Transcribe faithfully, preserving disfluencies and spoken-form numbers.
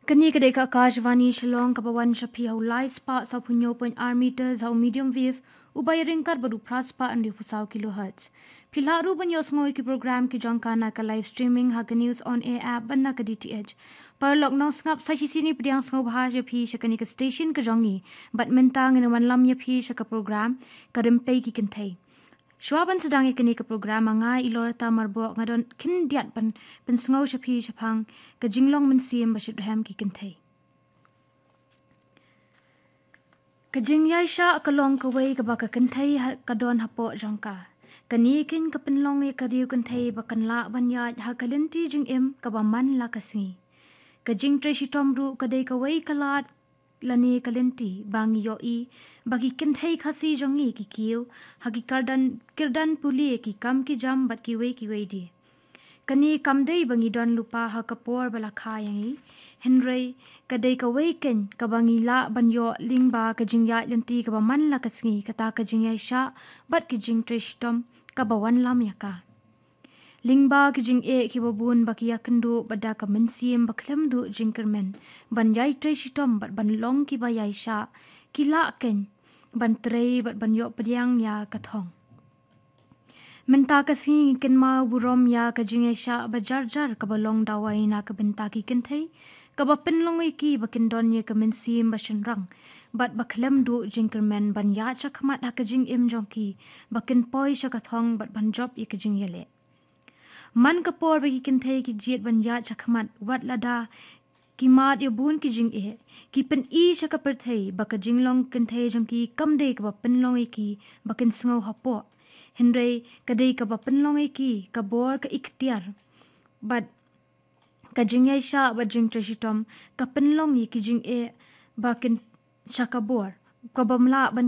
Kane ka dei ka Akashvani Shillong kaba wan sha phi ha u lai spah saw phew hynñiew point ar meters ha u medium wave, uba ïaryngkat bad u phra spah hynriew phew saw kilohertz. Phi lah ruh ban ïohsngew ïa ki program ki jong ka na ka live streaming ha ka News on Air app bad na ka D T H. Paralok nongsngap, sa shisien ngi pdiang sngewbha ïa phi sha kane ka station ka jong ngi. Bad mynta ngin wan lam ïa phi sha ka program Ka Rympei ki Kynthei. Shuwa ban sdang ïa kane ka program, ma nga i Loretta Marbok nga don khyndiat ban pynsngew sha phi shaphang ka jinglong mynsiem ba shitrhem ki kynthei. Ka jingïaishah ka long kawei kaba ka kynthei ha, ka don hapoh jong ka. Kane keiñ ka pynlong ïa ka riew kynthei ba kan lah ban ïaid ha ka lynti jingim kaba man la ka sngi. Ka jingtrei shitom ruh ka dei kawei ka lad lane ka lynti ba ngi ïohi ba ki kynthei Khasi jong ngi ki kiew ha ki kyrdan, kyrdan pule, ki kam ki jam bad kiwei kiwei de. Kane kam dei ba ngi don lypa ha ka por ba la kha ïa ngi, hynrei ka dei kawei keiñ kaba ngi lah ban ïoh lyngba ka jingïaid lynti kaba man la ka sngi, kata ka jingïaishah bad ka jingtrei shitom kaba wanlam ïa ka. Lyngba ki jingeh kiba bun ba ki ïakynduh bad da ka mynsiem ba khlem duh jingkyrmen ban ïai trei shitom bad ban long kiba ïaishah, ki lah keiñ ban trei bad ban ïoh pdiang ïa ka thong. Mynta ka sngi ngi kynmaw burom ïa ka jingïaishah ba jar jar kaba long dawai na ka bynta ki kynthei, kaba pynlong ïa ki ba kin don ïa ka mynsiem ba shynrang bad ba khlem duh jingkyrmen ban ïaid shakhmat ha ka jingim jong ki, ba kin poi sha ka thong bad ban jop ïa ka jingïaleh. Man ka por ba ki kynthei ki jied ban ïaid shakhmat, wat lada ki mad ïa bun ki jingeh, ki pyni sha ka pyrthei ba ka jinglong kynthei jong ki kam dei kaba pynlong ïa ki ba kin sngew hapoh, hynrei ka dei kaba pynlong ïa ki ka bor, ka iktiar. Bad ka jingïaishah bad jingtrei shitom ka pynlong ïa ki jingeh ba kin sha ka bor, kaba ym lah ban